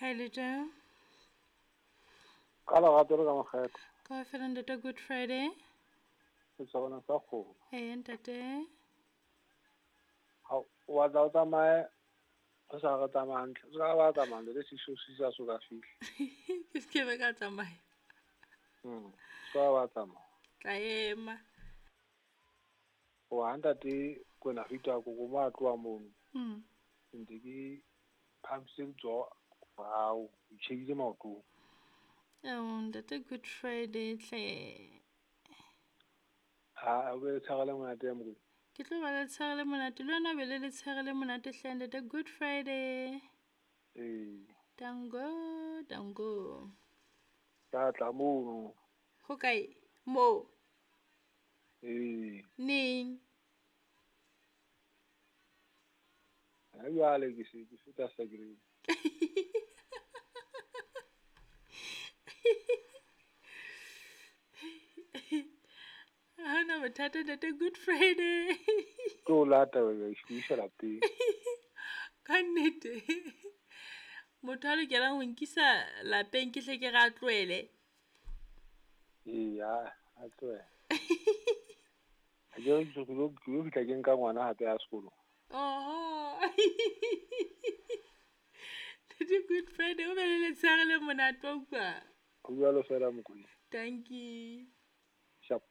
Hi, Ka lerato le ka makgetho. Ka fela ntate Good Friday. Setshwana sa kgomo. Ee ntate. Ha o batla o tsamaye o sa re tsamaya hantle. O ska ba tsamaya le se se sa so ka fihla. Ke se ke be ka tsamaya. Ska ba tsamaya. Tla ema. O ha ntate kwena fita ko ko ma tloha mono. Ntse ke phamisitse letsoho morao, ke tjhehile maotong. Ao ntate Good Friday hle. Ha o be le tshwara le monate ya mokoena. Ke tlo ba le letshehare le monate le wena o be le letshehare le monate hle ntate Good Friday. Ee. Tango, tango. Ka tla mono. Ho kae? Moo. Ee. Neng? Ha jwale ke se ke feta sekereng. Ha hona bothata ntate Good Friday. Ke o lata ke o isa lapeng. Ka nnete. Motho a lokelang ho nkisa lapeng ke hle ke re a tlohele. Ee, a tlohele. Ha ke re ke lo fihla ke nka ngwana hape ya sekolong. Oho. Ntate Good Friday o be le letshehare le monate wa utlwa. Ho jwalo fela Mokoena. Thank you. Sharp.